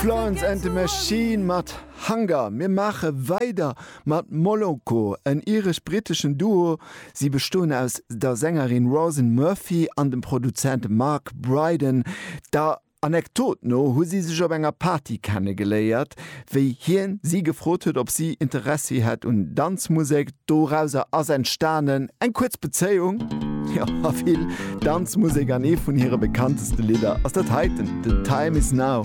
Florence and the Machine mat Hunger. Mir maache weider mat Moloko, en iresch-britteschen Duo. Si bestoen aus der Sängerin Róisín Murphy an dem Produzent Mark Brydon. Der Anekdot no hu si sech op enger Party kennegeléiert, wéi hien si gefrot huet, ob si Interessi hätt un Danzmusek. Dorauser ass entstanen eng kuerz Bezéiung, jo, a vill Danzmusek an ee vun hire bekannteste Lidder ass dat heiten, The Time Is Now.